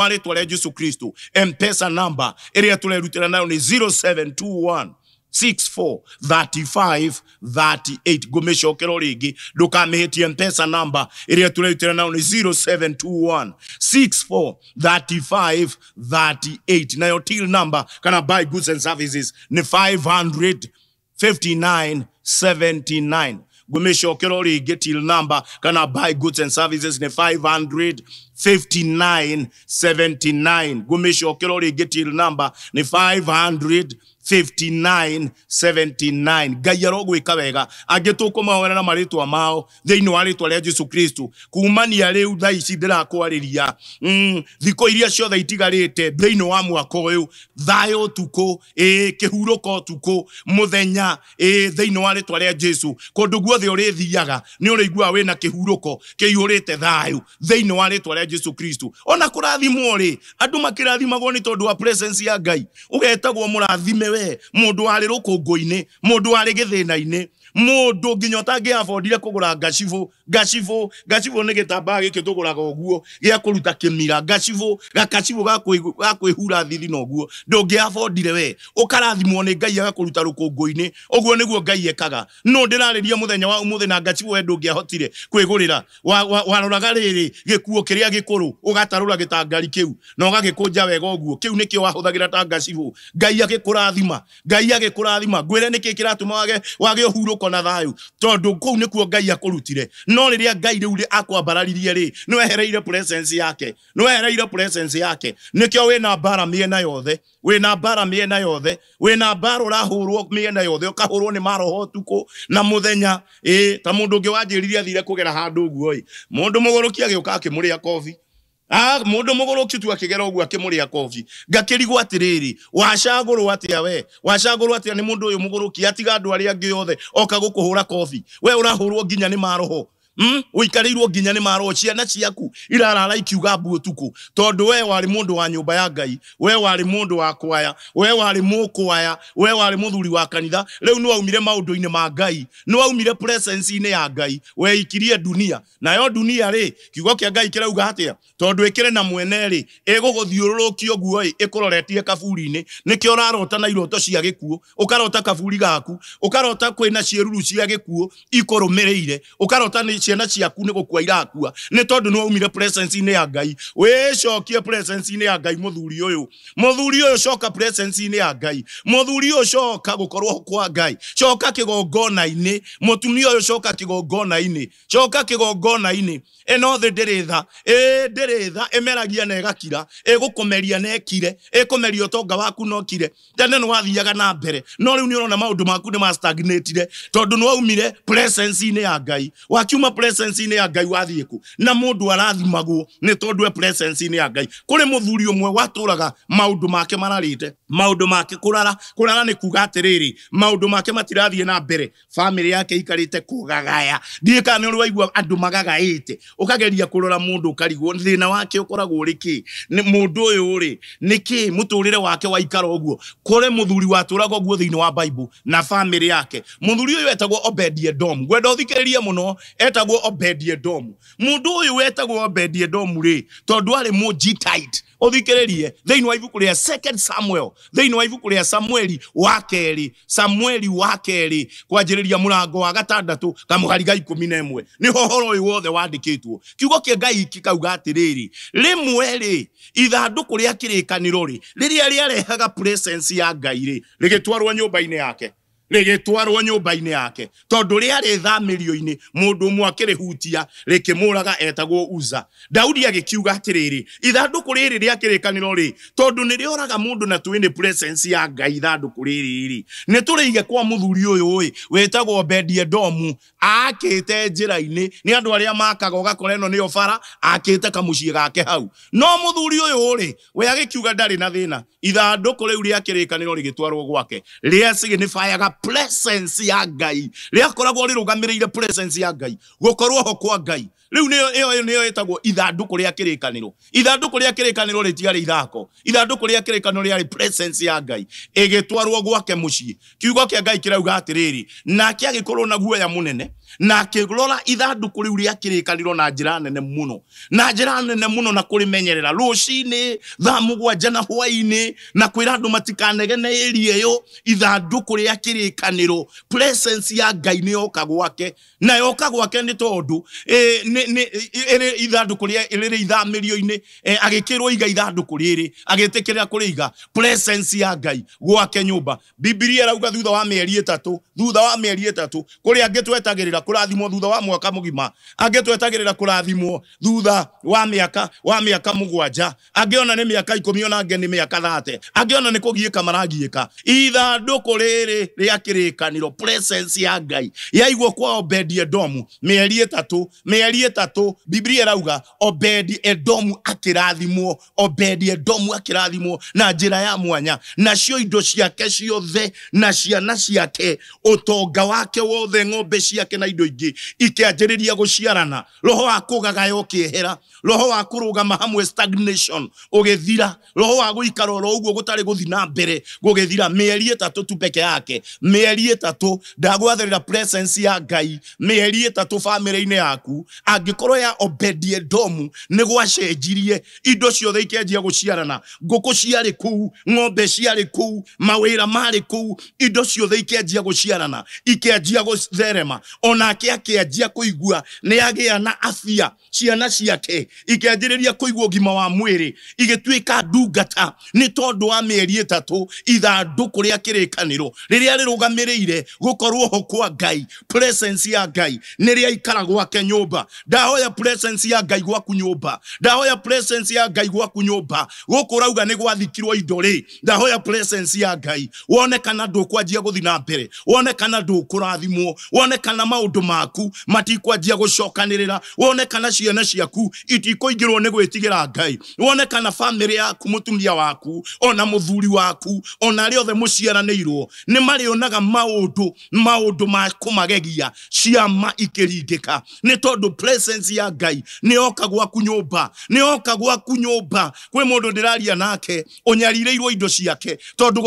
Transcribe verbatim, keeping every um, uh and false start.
Rĩtwa rĩa Jesu Kristo. M-Pesa number ĩrĩa tũrerutĩra nayo nĩ zero seven two one six four thirty five thirty eight. Ngũmĩcokera rĩngĩ, ndũkamĩhĩtie. M-Pesa number ĩrĩa tũrerutĩra nayo nĩ zero seven two one six four thirty five thirty eight. Nayo till number kana buy goods and services nĩ five hundred fifty nine seventy nine. Ngũmĩcokera rĩngĩ, till number kana buy goods and services nĩ five hundred fifty nine seventy nine. Ngũmĩcokera rĩngĩ, till number nĩ five hundred fifty nine seventy nine. Ngai arogwĩka wega. Angĩ tũkũmahoera na marĩtwa mao thĩinĩ wa rĩtwa rĩa Jesu Kristo. Kumania rĩu thaa ici ndĩrakwarĩria, mm, thikũ iria ciothe itigarĩte thĩinĩ wa mwaka ũyũ, thayũ ũtukũ, ĩ, kĩhurũko ũtukũ mũthenya, ĩ, thĩinĩ wa rĩtwa rĩa Jesu. Kũndũ guothe ũrĩthiaga nĩ ũrĩiguaga wĩna kĩhurũko kĩihũrĩte thayũ thĩinĩ wa rĩtwa rĩa Jesu Kristo. Ona kũrathimwo rĩ, andũ makĩrathimagwo nĩ tondũ wa presence ya Ngai. Ũgetagwo mũrathime we, mũndũ warĩ rũkũngũ-inĩ, mũndũ warĩ gĩthĩna-inĩ, mũndũ nginya ũtangĩabondire kũgũra ngacibũ. Ngacibũ, ngacibũ nĩ gĩtambaya gĩkĩ tũgũraga ũguo gĩa kũruta kĩmira, ngacibũ, gakacibũ ga kwĩ-, ga kwĩhura thithi na ũguo, ndũngĩabondire we, ũkarathimwo nĩ Ngai agakũruta rũkũngũ-inĩ. Ũguo nĩguo Ngai ekaga. No ndĩrarĩria mũthenya wa ũmũthĩ na ngacibũ we ndũngĩahotire kwĩgũrĩra. Wa-, wa-, waroraga rĩrĩ gĩkuo kĩrĩa gĩkũrũ, ũgatarũra gĩtangari kĩu na ũgagĩkũnja wega ũguo. Kĩu nĩkĩo wahũthagĩra ta ngacibũ. Ngai agĩkũrathima, Ngai agĩkũrathima. Ngwĩre nĩkĩ kĩratũma wage, wage ũhurũko na thayũ, tondũ kũu nĩkuo Ngai akũrutire. No rĩrĩa Ngai rĩu rĩ akwambararirie rĩ, nĩwehereire presence yake, nĩwehereire presence yake. Nĩkĩo wĩna mbara mĩena yothe, wĩna mbara mĩena yothe, wĩna mbara ũrahũrwo mĩena yothe, ũkahũrwo nĩ maroho ũtukũ na mũthenya. Ĩ, ta mũndũ ũngĩ wanjĩrire athire kũgera handũ ũguo ĩ, mũndũ mũgũrũki agĩũka akĩmũrĩa kobi. Ah, mũndũ mũgũrũki tu akĩgera ũguo akĩmũrĩa kobi. Ngakĩrigwo atĩrĩrĩ, wacagũrwo atĩa we? Wacagũrwo atĩa nĩ mũndũ ũyũ mũgũrũki atiga andũ arĩa angĩ othe oka gũkũhũra kobi? We ũrahũrwo nginya nĩ maroho. Mm? Ũikarĩirwo nginya nĩ maroho, ciana ciaku irarara ikiuga mbu ũtukũ, tondũ we warĩ mũndũ wa nyũmba ya Ngai, we warĩ mũndũ wa kwaya, we warĩ mũkwaya, we warĩ mũthuri wa kanitha. Rĩu nĩ waumire maũndũ-inĩ ma Ngai, nĩ waumire presence-inĩ ya Ngai, weikirie dunia. Nayo dunia rĩ, kiugo kĩa Ngai kĩrauga atĩa? Tondũ ĩkĩrĩ na mwene rĩ, ĩgũgũthiũrũrũkia ũguo ĩ, ĩkũroretie kaburi-inĩ. Nĩkĩo ũrarota na iroto cia gĩkuũ, ũkarota kaburi gaku, ũkarota kwĩna ciĩruru cia gĩkuũ ikũrũmĩrĩire, ũkarota nĩ ciana ciaku nĩ gũkua irakua, nĩ tondũ nĩ waumire presence-inĩ ya Ngai. Wĩcokie presence-inĩ ya Ngai mũthuri ũyũ, mũthuri ũyũ coka presence-inĩ ya Ngai, mũthuri ũyũ coka gũkorwo kwa Ngai, coka kĩgongona-inĩ, mũtumia ũyũ coka kĩgongona-inĩ, coka kĩgongona-inĩ. Ĩno thĩ ndĩrĩ tha, ĩ ndĩrĩ tha, ĩmeragia na ĩgakira, ĩgũkũmeria na ĩkire, ĩkũmeria ũtonga waku na ũkire. Tene nĩ wathiaga na mbere, no rĩu nĩ ũrona maũndũ maku nĩ ma stagnatire, tondũ nĩ waumire presence-inĩ ya Ngai. Wakiuma presence-inĩ ya Ngai wathiĩ kũ? Na mũndũ arathimagwo nĩ tondũ e presence-inĩ ya Ngai. Kũrĩ mũthuri ũmwe watũraga maũndũ make mararĩte, maũndũ make kũrara, kũrara nĩ kuga atĩrĩrĩ, maũndũ make matirathiĩ na mbere, family yake ikarĩte kũgagaya. Ndiũĩ kana nĩ ũrĩ waigua andũ magagaĩte, ũkageria kũrora mũndũ ũkarigwo thĩna wake ũkoragwo ũrĩ kĩ? Nĩ mũndũ ũyũ rĩ, nĩ kĩ mũtũrĩre wake waikara ũguo? Kũrĩ mũthuri watũraga ũguo thĩinĩ wa Bible na family yake. Mũthuri ũyũ etagwo Obed-Edom. Ngwenda ũthikĩrĩrie mũno, etagwo Obed-Edom. Mũndũ ũyũ wetagwo Obed-Edom rĩ, tondũ arĩ Mũgitite. Ũthikĩrĩrie thĩinĩ wa ibuku rĩa Second Samuel, thĩinĩ wa ibuku rĩa Samueli wa kerĩ, Samueli wa kerĩ, kwanjĩrĩria mũrango wa gatandatũ kamũhari ga ikũmi na ĩmwe, nĩho ũhoro ũyũ wothe wandĩkĩtwo. Kiugo kĩa Ngai kĩkauga atĩrĩrĩ, rĩmwe rĩ, ithandũkũ rĩa kĩrĩkanĩro rĩ, rĩrĩa rĩarehaga presence ya Ngai rĩ, rĩgĩtwarwo nyũmba-inĩ yake, rĩgĩtwarwo nyũmba-inĩ yake, tondũ rĩarĩ thamĩrio-inĩ, mũndũ ũmwe akĩrĩhutia rĩkĩmũraga etagwo Uza. Daudi agĩkiuga atĩrĩrĩ, ithandũkũ rĩrĩ rĩa kĩrĩkanĩro rĩ, tondũ nĩ rĩoraga mũndũ na twĩ nĩ presence ya Ngai, ithandũkũ rĩrĩ rĩ, nĩ tũrĩige kwa mũthuri ũyũ ĩ, wĩtagwo Obed-Edomu, akĩte njĩra-inĩ. Nĩ andũ arĩa makaga ũgakora ĩno nĩyo bara, akĩte kamũciĩ gake hau. No mũthuri ũyũ rĩ, we agĩkiuga ndarĩ na thĩna, ithandũkũ rĩu rĩa kĩrĩkanĩro rĩgĩtwarwo gwake, rĩa signifiaga presence ya Ngai, rĩakoragwo rĩrũgamĩrĩire presence ya Ngai, gũkorwo ho kwa Ngai. Rĩu nĩyo ĩyo nĩyo ĩtagwo ithandũkũ rĩa kĩrĩkanĩro. Ithandũkũ rĩa kĩrĩkanĩro rĩtiarĩ ithako, ithandũkũ rĩa kĩrĩkanĩro rĩarĩ presence ya Ngai ĩgĩtwarwo gwake mũciĩ. Kiugo kĩa Ngai kĩrauga atĩrĩrĩ, nake agĩkorwo na guoya mũnene na akĩrora ithandũkũ rĩu rĩa kĩrĩkanĩro na njĩra nene mũno, na njĩra nene mũno, na kũrĩmenyerera rũcinĩ thaa mũgwanja na hwaĩ-inĩ, na kwĩra andũ matikanegene ĩria ĩyo. Ithandũkũ rĩa kĩrĩkanĩro, presence ya Ngai nĩ yoka gwake, na yoka gwake nĩ tondũ eh, nĩ nĩ ĩrĩ ithandũkũ rĩa rĩrĩ ithamĩrio-inĩ, eh, agĩkĩrwo iga ithandũkũ rĩrĩ, agĩtĩkĩra kũrĩiga presence ya Ngai gwake nyũmba. Bibilia ĩrauga thutha wa mĩeri ĩtatũ, thutha wa mĩeri ĩtatũ, kũrĩ angĩ twetagĩrĩra kũrathimwo thutha wa mwaka mũgima, angĩ twetagĩrĩra kũrathimwo thutha wa mĩaka wa mĩaka mũgwanja, angĩ ona nĩ mĩaka ikũmi, ona angĩ nĩ mĩaka thate, angĩ ona nĩ kũgiĩka maragiĩka. Ithandũkũ rĩrĩ rĩa kĩrĩkanĩro, presence ya Ngai yaigwo kwa Obedi Edomu mĩeri ĩtatũ, mĩeri ĩtatũ. Bibilia ĩrauga Obedi Edomu akĩrathimwo, Obedi Edomu akĩrathimwo na njĩra ya mwanya, nacio indo ciake ciothe na ciana ciake, ũtonga wake wothe, ng'ombe ciake na indo ingĩ ikĩanjĩrĩria gũciarana. Roho wa kũgagaya ũkĩehera, roho wa kũrũgama hamwe stagnation ũgĩthira, roho wa gũikara oro ũguo gũtarĩ gũthiĩ na mbere gũgĩthira. Mĩeri ĩtatũ tu peke yake, mĩeri ĩtatũ. Ndagwathĩrĩra presence ya Ngai mĩeri ĩtatũ bamĩrĩ-inĩ yaku. Angĩkorwo ya Obedi Edomu nĩ gwacenjirie, indo ciothe ikĩanjia gũciarana, ngũkũ ciarĩ kũu, ng'ombe ciarĩ kũu, mawĩra marĩ kũu, indo ciothe ikĩanjia gũciarana, ikĩanjia gũtherema. Onake akĩanjia kũigua nĩ agĩa na afya, ciana ciake ikĩanjĩrĩria kũigua ũgima wa mwĩrĩ, igĩtuĩka ndungata nĩ tondũ wa mĩeri ĩtatũ. Ithandũkũ rĩa kĩrĩkanĩro rĩrĩa rĩrũgamĩrĩire gũkorwo ho kwa Ngai, presence ya Ngai nĩ rĩaikara gwake nyũmba. Ndahoya presence ya Ngai gwaku nyũmba, ndahoya presence ya Ngai gwaku nyũmba. Gũkũ ũrauga nĩ gwathikirwo indo rĩ, ndahoya presence ya Ngai wone kana ndũkwanjia gũthiĩ na mbere, wone kana ndũkũrathimwo, wone kana maũndũ maku matikwanjia gũcokanĩrĩra, wone kana ciana ciaku itikũingĩrwo nĩ gwĩtigĩra Ngai, wone kana bamĩrĩ yaku, mũtumia waku ona mũthuri waku ona arĩa othe mũciaranĩirwo nĩ marĩonaga maũndũ maũndũ ma kũmagegia, ciama ikĩringĩka, nĩ tondũ presence ya Ngai nĩ yoka gwaku nyũmba, nĩ yoka gwaku nyũmba. Kwĩ mũndũ ndĩraria nake ũnyarirĩirwo indo ciake tondũ